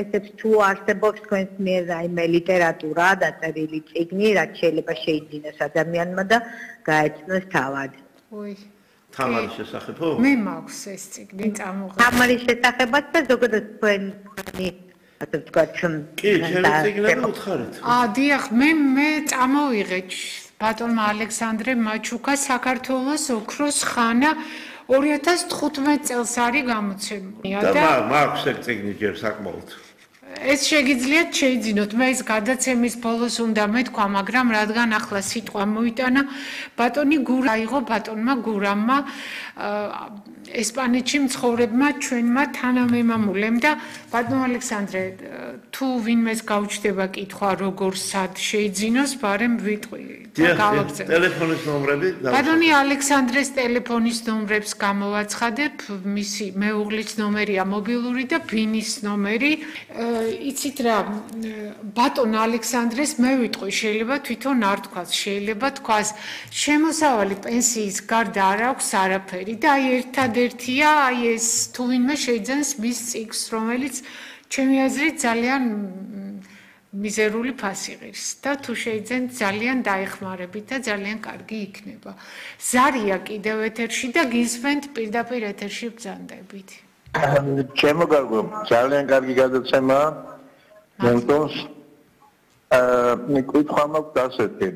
ესეც თუ არსებობს თქვენს მიერ რაიმე ლიტერატურა დაწერილი წიგნი, რაც შეიძლება შეიძინოს ადამიანმა და გაეცნოს თავად. თამარის შესახებ? მე მაქვს ეს წიგნი წამოღებული. თამარის შესახებაც და ზოგადად თქვენი ასე ვთქვათ. კი, ჩემი წიგნები უთხარით. დიახ, მე წამოვიღე ბატონმა ალექსანდრე მაჩუკა საქართველოს ოქროს ხანა 2015 წელს არის გამოცემული და მაქვს ეგ წიგნი ჯერ საკმაოდ. ეს შეგიძლიათ შეიძინოთ, მე ეს გადაცემის ბოლოს უნდა მეთქვა, მაგრამ რადგან ახლა სიტყვა მოიტანა, ბატონი გურა აიღო ბატონმა გურამმა ესპანეთში მცხოვრებმა ჩვენმა თანამემამულემ და ბატონ ალექსანდრე, თუ ვინმეს გაუჩნდება კითხვა, როგორ სად შეიძინოს, ბარემ ვიტყვი და გავაგზავნე. ტელეფონის ნომრები? ბატონი ალექსანდრეს ტელეფონის ნომრებს გამოვაცხადებ, მისი მეუღლის ნომერია მობილური და ბინის ნომერი. იცით რა, ბატონ ალექსანდრეს მე ვიტყვი, შეიძლება თვითონ არ თქვას, შეიძლება თქვას, შემოსავალი პენსიის გარდა არ აქვს არაფერი და აი ერთადერთია, აი ეს თუ ვინმე შეიძენს მის წიგნს, რომელიც ჩემი აზრით ძალიან მიზერული ფასი ღირს და თუ შეიძენთ ძალიან დაეხმარებით და ძალიან კარგი იქნება. ზარია კიდევ ეთერში და გისმენთ პირდაპირ ეთერში ბრძანდებით. ჩემო გარკვეულ ძალიან კარგი გადაცემაა. მომწონს. კითხვა მაქვს ასეთი.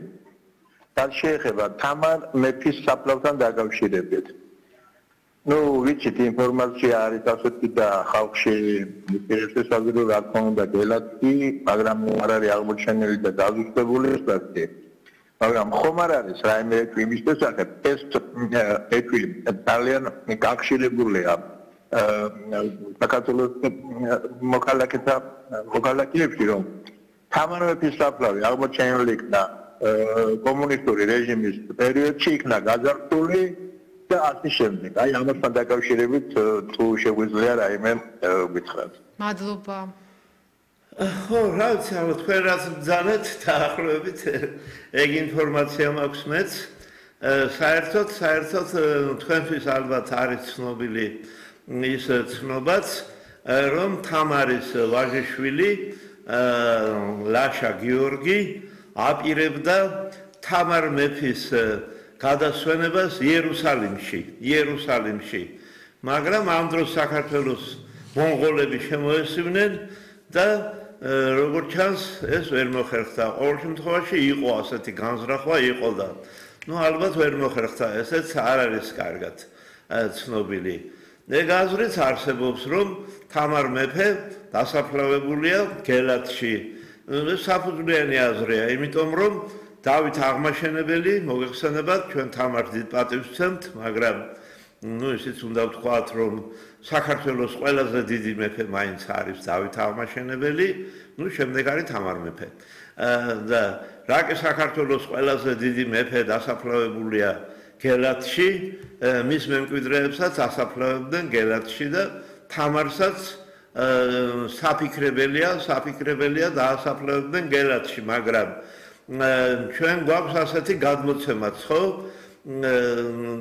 რაც შეეხება თამარ მეფის საფლავთან დაკავშირებით. ვიცით ინფორმაცია არის ასეთი და ხალხში პირდაპირ საზოგადო რა თქმა უნდა გელათი, მაგრამ არ არის აღმოჩენილი და დაზუსტებული ეს ფაქტი. მაგრამ ხომ არ არის რაიმე ეკვიმის შესახებ ეს ეკვი ძალიან გახშირებულია საქართველოს მოქალაქეებში რომ თამარ მეფის საფლავი აღმოჩენილი იქნა კომუნისტური რეჟიმის პერიოდში იქნა გაძარცვული და ასე შემდეგ. აი ამასთან დაკავშირებით თუ შეგვიძლია რაიმე გითხრათ. მადლობა. ხო, რა ვიცი, ალბათ თქვენ რაც ბრძანეთ დაახლოებით ეგ ინფორმაცია მაქვს მეც. საერთოდ თქვენთვის ალბათ არის ცნობილი ის ცნობაც, რომ თამარის ვაჟიშვილი ლაშა გიორგი აპირებდა თამარ მეფის გადასვენებას იერუსალიმში. მაგრამ ამ დროს საქართველოს მონღოლები შემოესივნენ და როგორც ჩანს, ეს ვერ მოხერხდა. ყოველ შემთხვევაში იყო ასეთი განზრახვა იყო და ალბათ ვერ მოხერხდა, ესეც არ არის კარგად ცნობილი. ეგ აზრიც არსებობს, რომ თამარ მეფე დასაფლავებულია გელათში. საფუძვლიანი აზრია, იმიტომ რომ დავით აღმაშენებელი მოგეხსენებათ, ჩვენ თამარს დიდ პატივს ვცემთ, მაგრამ ისიც უნდა ვთქვათ, რომ საქართველოს ყველაზე დიდი მეფე მაინც არის დავით აღმაშენებელი, შემდეგ არის თამარ მეფე. და რა კი საქართველოს ყველაზე დიდი მეფე დასაფლავებულია გელათში, მის მემკვიდრეებსაც ასაფლავებდნენ გელათში და თამარსაც საფიქრებელია დაასაფლავებდნენ გელათში, მაგრამ ჩვენ გვაქვს ასეთი გადმოცემაც, ხო?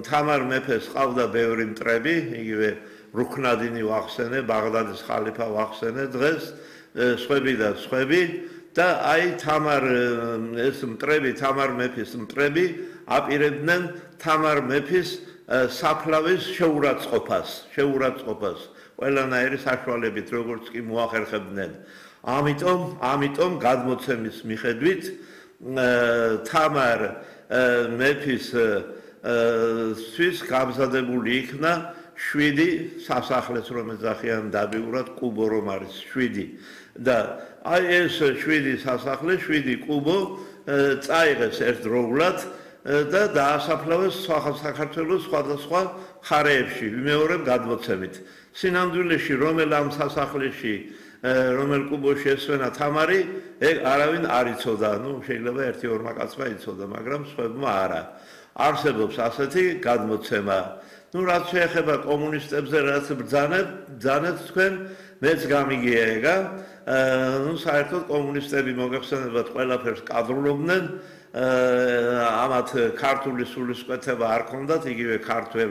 თამარ მეფეს ყავდა ბევრი მტრები, იგივე რუქნადინი ვახსენე, ბაღდადის ხალიფა ვახსენე დღეს, სხვები და სხვები და აი თამარ მეფის მტრები აპირებდნენ თამარ მეფის საფლავის შეურაცხყოფას. ყველანაირი საშუალებით როგორც კი მოახერხებდნენ. ამიტომ გადმოცემის მიხედვით თამარ მეფის სვის გამზადებული იქნა 7 სასახლეს, რომ ეძახიან დაბიურად კუბო რომ არის 7 და აი ეს 7 სასახლე, 7 კუბო წაიღეს ერთდროულად და დაასაფლავეს საქართველოს სხვადასხვა მხარეებში, ვიმეორებ გადმოცემით. სინამდვილეში რომელ ამ სასახლეში, რომელ კუბოში ესვენა თამარი, ეგ არავინ არ იცოდა, შეიძლება 1-2 კაცმა იცოდა, მაგრამ სხვებმა არა. არსებობს ასეთი გადმოცემა. რაც შეეხება კომუნისტებზე, რაც ბრძანეთ თქვენ, მეც გამიგია ეგა. საერთოდ კომუნისტები მოგეხსენებათ ყველაფერს კადრულობდნენ, ამათ ქართული სულისკვეთება არ ქონდათ, იგივე ქართველ